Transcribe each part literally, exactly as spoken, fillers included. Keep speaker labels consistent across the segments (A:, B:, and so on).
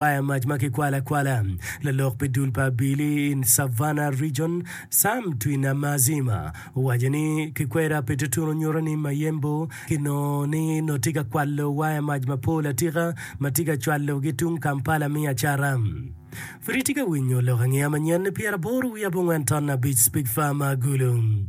A: Waya mac ma kikwalo akwala. Lalok pi dul pa abili i Savannah Region, Sam Twinamazima owaco ni kikweda pi tutunu nyuto ni Mayembo kinongo ni nongo tye ka kwalo waya mac mapol atika ma tye ka cwalogi tung Kampala me acara. Pud itye ka winyo lok angeya manyen ni pyeraboro wiye abongwen ton abic Speak Farmer Gulu.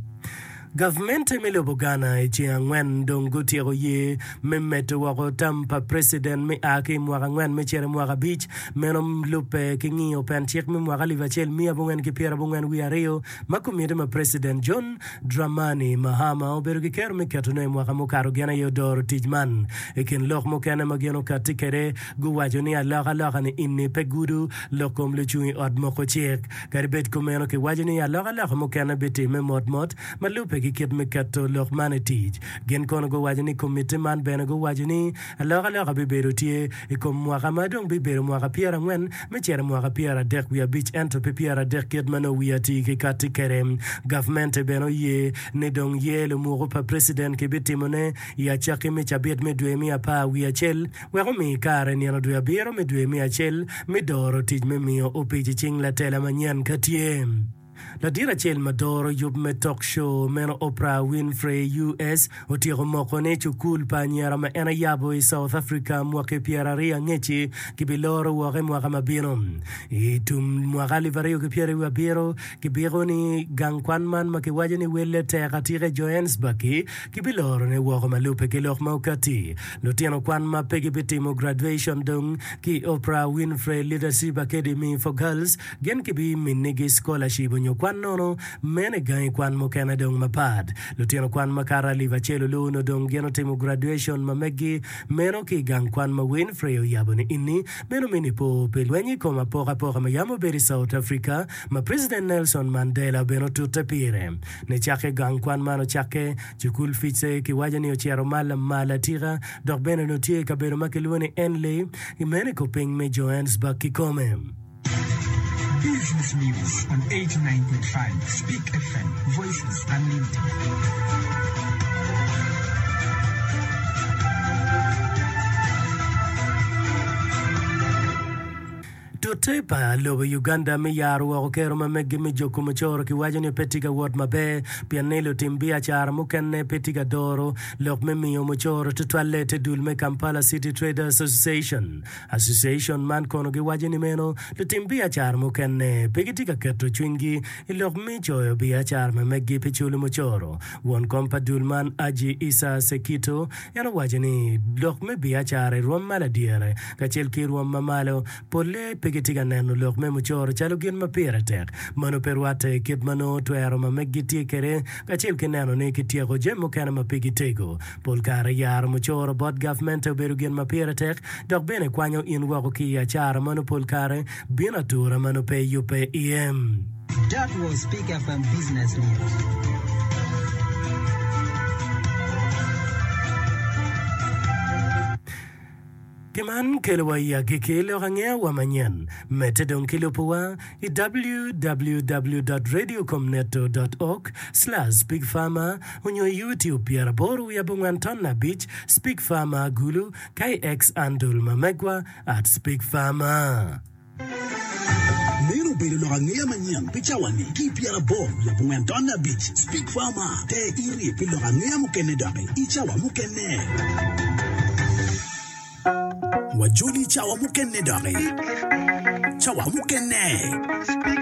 A: Gavmente me lobo Ghana i ceng angwen dong gutyeko ye me medo woko tam pa preciden me a ki i mwaka angwen me cito i mwaka abic. Meno lubbe ki ngiyo pen cik me mwaka alip acel miya abongwen ki pyerabongwen wiye aryo ma komiti ma preciden John Dramani Mahama obedo ki kero me ketone i mwaka mukato gin aye odoro tic man. I kin lok mukene ma gin okatti kwede guwaco ni alokaloka-ni ini pe gudo lok kom lucung i ot moko cik. Kadi bed kumeno, kiwaco ni alokaloka mukene bitimme motmot ma lubbe ki kit me keto lok man i tic. Gin kono guwaco ni komitti man bene guwaco ni alokaloka bibedo tye i kom mwaka ma dong bibedo mwaka pyerangwen me cito i mwaka pyeradek wiye abic ento pe pyeradek kit ma nongo wiye atir ki katti kwede. Gavmente bene oye ni dong ye lumuku pa preciden kibitimone i acakki me cabit me dwe me apar wiye acel wek omi kare nino dwe abiro me dwe me acel me doro tic me miyo opic i cing latela manyen ka tye. Ladit acel ma doro yub me talk show meno Oprah Winfrey, US, otyeko moko ni cukul pa anyira ma en ayabo i South Africa mwaki pyeraryo angec-ci kibiloro woko i mwaka ma bino. I tum mwaka alip aryo ki pyeraryo abiro, kibiko ni gang kwan man ma kiwaco ni welle tek atika i Johannesburg-ki kibilorone woko ma lubbe ki lok ma okatti. Lutino kwan ma pe gibitimo graduation dong ki i Oprah Winfrey Leadership Academy for Girls gin kibiminigi scholarship onyo kwan nono meno i gangi kwan mukene dong mapat. Lutino kwan makato alip acel olu-nu dong gin otimo graduation ma meggi meno ki i gang kwan ma Winfrey oyabo ni ini meno me nipo pi lweny i kom apokapoka ma yam obedo i South Africa ma President Nelson Mandela bene otute pire. Nicakke gang kwan man ocakke, cukul Fice kiwaco ni ocito ma lamal atika dok bene onongo tye i kabedo ma kilwongo ni Enley, meno i kupiny me Johannesburg kikome.
B: Business News on eighty nine point five Speak F M, Voices Unlimited.
A: Tute pa lobo Uganda me yaro woko kero ma meggi me juko mucoro kiwaco ni pe tye ka wot maber pien ni lutim biacara mukene pe tye ka doro lok me miyo mucoro tutwalle ite dul me Kampala City Traders Association. Association man kono giwaco ni meno lutim biacara mukene pe gitye ka keto cwinygi i lok me coyo biacara ma meggi pi culo mucoro. Won kom pa dul man Aji Issa Sekito en owaco ni lok me biacara i rwom ma ladyere kacel ki i rwom ma malo polle pe gitye ka neno lok me mucoro calo gin ma pire tek. Meno pe rwatte i kit ma nongo twero ma meggi tye kwede kacel ki neno ni kityeko jami mukene ma pigi tego. Pol kare yaro mucoro bot gavmente obedo gin ma pire tek dok bene kwanyo in woko ki i acara ma nongo pol kare bino atura ma nongo pe iyubbe iye.
B: That was Speak F M Business News.
A: Pi man kelowa i agikki lok angeyawa manyen. Medde dong ki lubowa i W W W dot radiocomneto dot org slash speakfarmer onyo i YouTube pyeraboro wiye abongwen ton abic speakfarmer Gulu ka i X andle ma megwa at speakfarmer.
C: Meno obedo lok angeya manyen pi cawa-ni ki i pyeraboro wiye abongwen ton abic Speak Farmer te iri pi lok angeya mukene doki i cawa mukene. Wajoli i cawa mukene doki. Cawa mukene.